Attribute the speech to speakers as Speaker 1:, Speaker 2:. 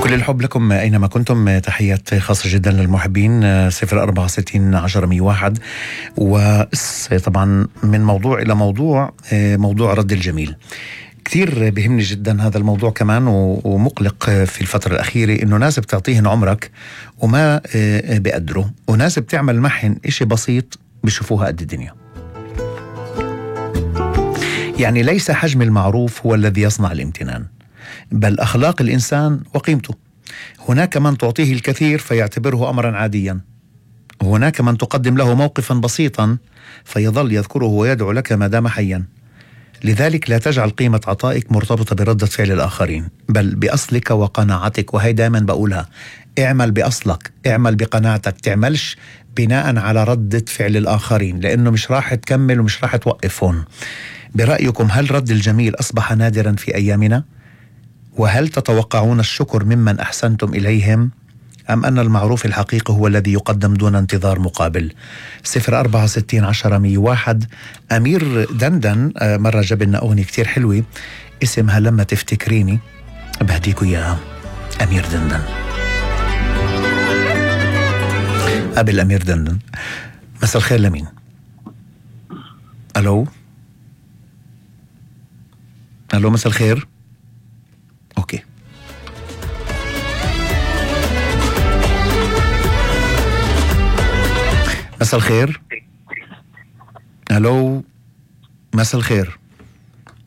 Speaker 1: كل الحب لكم أينما كنتم. تحيات خاصة جدا للمحبين. 064-60-10-101. وطبعا من موضوع إلى موضوع، موضوع رد الجميل كثير بيهمني جدا هذا الموضوع كمان، ومقلق في الفترة الأخيرة إنه ناس بتعطيهن عمرك وما بيقدروا، وناس بتعمل معهن إشي بسيط بيشوفوها قد الدنيا. يعني ليس حجم المعروف هو الذي يصنع الامتنان، بل أخلاق الإنسان وقيمته. هناك من تعطيه الكثير فيعتبره أمرا عاديا، وهناك من تقدم له موقفا بسيطا فيظل يذكره ويدعو لك ما دام حيا. لذلك لا تجعل قيمة عطائك مرتبطة بردة فعل الآخرين، بل بأصلك وقناعتك. وهي دائما بقولها، اعمل بأصلك، اعمل بقناعتك، تعملش بناء على ردة فعل الآخرين، لأنه مش راح تكمل ومش راح توقف هون. برأيكم هل رد الجميل أصبح نادرا في أيامنا؟ وهل تتوقعون الشكر ممن أحسنتم إليهم؟ أم أن المعروف الحقيقي هو الذي يقدم دون انتظار مقابل؟ 064-60-10-101. أمير دندن مرة جاب لنا أغنية كتير حلوة اسمها لما تفتكريني، بهديكوا إياها. أمير دندن. قبل أمير دندن، مساء الخير لمين؟ ألو ألو، مساء الخير. أوكي، مساء الخير. ألو، مساء الخير.